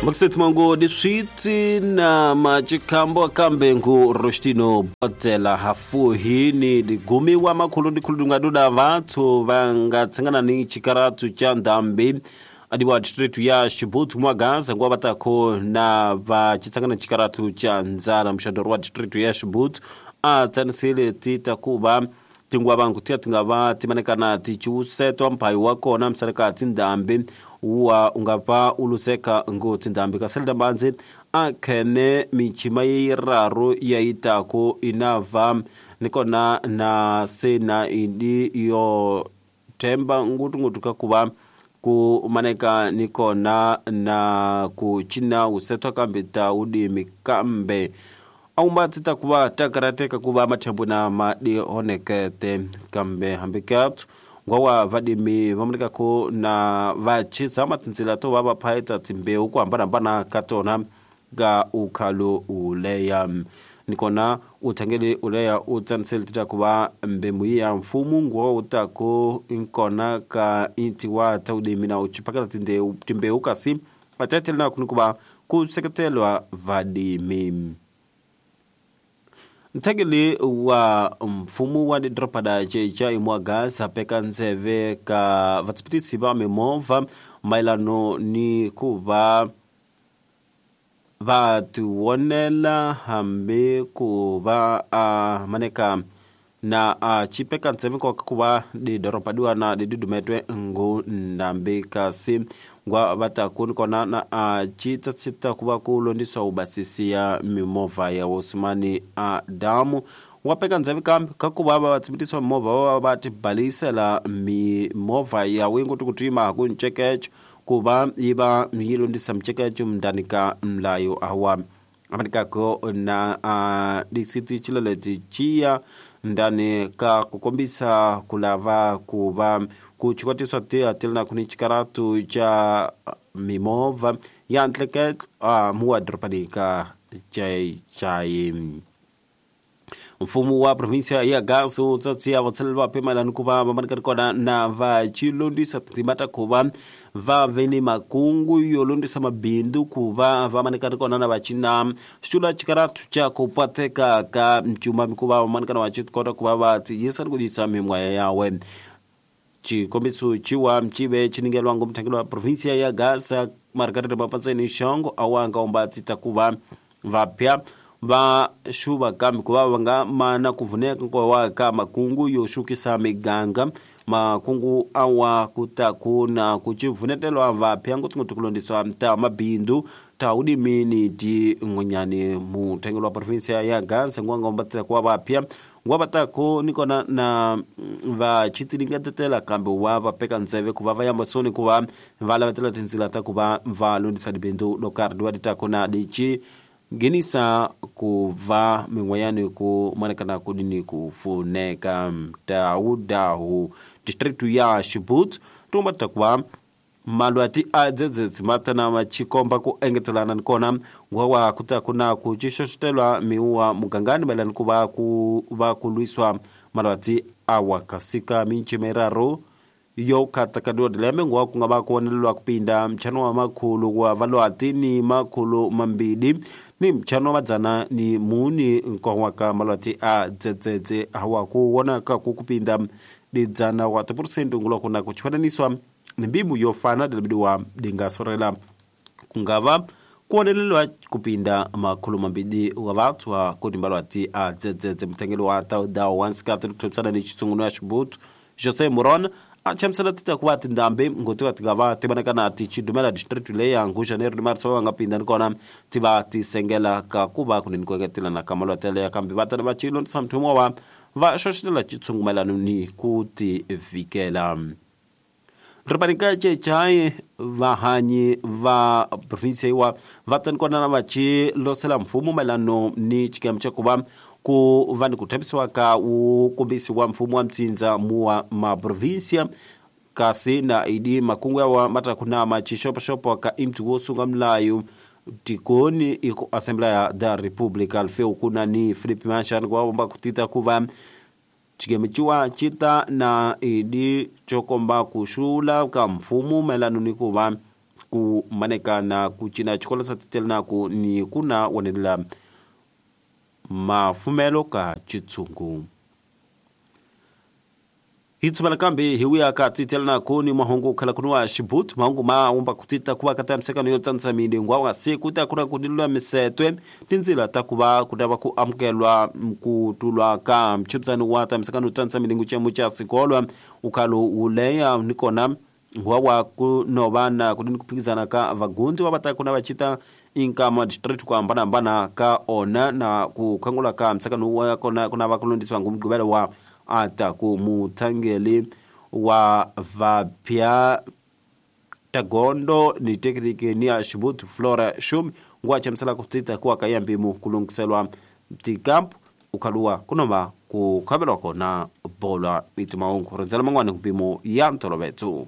Makusethimango diswitsi na machikambo kambe ngu Rostino Botela hafuhi ni ligumiwa makhulu ndikhulu ngaduda vathu vanga tsangana ni chikaratu cha ndambi adiwa district ya Chibutu mwagaza ngwa batako na vachitsangana chikaratu cha nzala mshandoro wa district ya Chibutu atsanisile titakuva tingwa vangu tiya tingava timanekana tichiusetwa mphayi wa kona msaleka tindhambi wa ungava uluseka ngo tindhambi kaselita mbanzi akhene michima yiraru yayitaku inava nikona na sena idi yo themba ngutungutu kakuva ku maneka nikona na kuchina usetwa kambe ta udimi kambe aumba tsita kuva takarateka kuva mathembu na madihonekete kambe hambikathu ngwawa vadimi vamanekako na vachisa matsindzila to va vaphaita timbewu ku hambanahambana ka tona ka ukhalo uleya nikona uthangele uleya u tsanisele tita kuva mbemu ya mfumo ngwawa utako nkona ka intiwa ta udimi na uchipakela timbewu kasi vatatele na kunikuva ku seketelwa vadimi. Nthekeli wa mfumo wa didoropa ceca imwagasa peka ntseve ka vatsipitisi va mimovha mayelano ni ku va va tiwonela hambi ku va a maneka na a chipeka ntseve nkoka ku va didoropa diwana didudumetwe ngu ndambi kasi ngwa vataku nikona na a chitsatsita ku va ku londiswa ubasisi ya mimovha ya Osmani Adamu wapeka ndzeve kambe ka ku va va tsimitisa mimovha va va tibalisela mimovha ya wingu tukutima ku ncekecho ku va yi va yi londisa mcekecho mndani ka mlayo awa amanikako na a disiti chileleti chiya ndani ka kukombisa kulava kuva kuchikwatiswa tiatili kuni chikaratu cha mimovha ya ntleketlo muwa doropani ka chai. Mfumo wa provinsia ya Gaza utsatsiya vatsaleli va pimalani ku va va kona na va chilondisa tindzima ta ku va va ve ni makungu yo londisa mabindzu ku va va manekani kona na va cina xitula chikaratu cha ku pateka ka mcuma mikuva va manekana va kota ku va va tiyisa ni ku yisa mimwaya yawe. Chikombiso chiwa mchive chiningelwa ngomthangelo wa provinsia ya Gaza Margarita Mapatseni Shongo awanga ombatsi takuva vapya va xuva kambe ku va va nga mana ku vuneka nkowa ka makungu yo xukisa miganga makungu awa ku ta ku na ku civunetelwa vapya ngopfungopfu ku londiswa ta mabindzu ta udimini ti n'wanyani muthengelo wa provinsia ya Gaza ngwangombatsi ku va vapya ngwavatako nikona na va chitilingetetela kambe wa va peka ntseve ku va va ya masoni ku va va lavetela tindzila ta ku va va londisa dibindzu lo karhi diwa ditako na dichi nghenisa ku va min'wanyani ku manekana ku dini ku pfuneka tawudahu district ya Chibutu tumba ta ku va malwati a dzedzedzi matana machikomba ku engetelana nikona ngwawa kuta kuna ku xixoxotelwa miwa mugangani mayelana ku va ku va ku lwiswa malwati awa kasika minchimeraro yo katakadiwa dileme ngwa ku nga va ku vonelelwa ku pinda mchano wa makhulu wa valwati ni makhulu mambili ni mchano wa madzana ni muni nkowa ka malwati a dzedzedze awa ku wonaka ku kupinda didzana wa 1% ngulwa kuna ku chwananiswa ni mbimu yofana dilabidiwa dingasorela kungava kuonelelwa kupinda makhulu mambili wa vathu wa kudimbalwati a dzedzedze mthengelo wa taudawo wansikati kuthomisana ni xitsunguno ya Xibutu Jose Muron a chamusela tita ku va tindhambi ngotiva tingava ti vonakana ti chidumela district leya ngu Janeiro ni Marso va nga pinda nikona ti va ti sengela ka ku va kunene ku engetelana ka malwati yaleya kambe va tana va chilondisa mthumo wa va xoxetela chitshungumelano ni ku ti vikela. Ripanika chechai vahanyi va provinsia iwa va tanikona na va chilosela mfumo mayelano ni chikemu cha ku va ku va ni ku thabisiwa ka wu kombisi wa mfumo wa mtsindza muwa maprovinsia kasi na idi makungu yawa matakuna machixopoxopo ka imti wo sunga mlayo tikoni iko Assembleia da República alfeu kuna ni Felipe Manchani kwa omba kutita kuva chikemichiwa chita na idi chokomba kushula ka mfumo mayelano ni kuva Ku manekana ku cina xikolo sa titelanako ni ku na wonelela mafumelo ka xitshungu. Hi tshumela kambe hi wuya ka titelanako ni mahungu khala ku wa xibutu mahungu ma wumba ku tita ku va ka tamisekano yo tsanisa milengwa wa siku ta ku na ku lulamisetwe tindzila ta ku va ku ta va ku amukelwa ku tulwa ka mchupisano wa tamisekano yo tsanisa milengo xiyimo xa sikolo ukhalo wu leya ni kona wa ku no va na ku ni ku phikizana ka vagundzi va va ta ku na va cita inkama district ku hambanahambana ka ona na ku khangula ka mtshakano wa kona ku na va ku londisiwa ngumgqivelo wa ata ku muthangeli wa vapya tagondo ni tekniki ni ya xibutu Flora Shumi ngwa chamisela ku tita ku ka ya mpimu ku lunghiselwa tikampu ukhaluwa kunoma ku khavelwa kona bolwa itimahungu rindzela man'wani mpimo ya ntolovetso.